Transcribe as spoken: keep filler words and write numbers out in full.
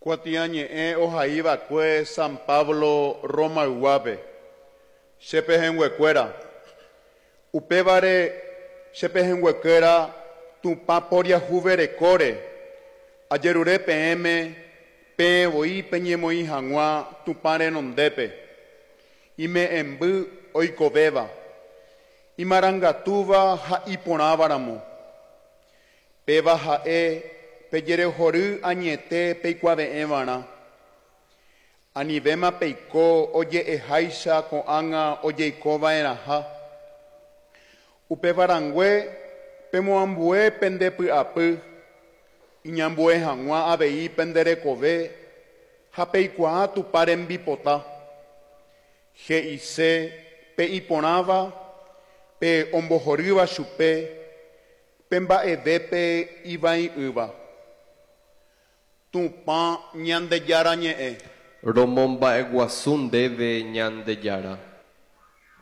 Kuatiañe'ẽ ohaiva'ekue San Pablo Romayguápe. Che pehẽnguekuéra. Upévare che pehẽnguekuéra Tupã poriahuverekóre ajerure peẽme peẽ voi peñemoĩ hag̃ua Tupã renondépe ime'ẽmby oikovéva, imarangatúva ha iporãvaramo. Péva ha'e pejerehory añete peikuave'ẽvarã. Anivéma peiko oje'eháicha ko'ág̃a ojeikova'erãha. Upevarãngue pemoambue pende py'apy, iñambue hag̃ua avei pende rekove ha peikuaa Tupã rembipota. He'ise pe iporãva, pe ombohorýva chupe, pe mba'evépe ivai'ỹva. Tupã Ñandejára ñe'ẽ. Romomba'eguasu ndéve Ñandejára.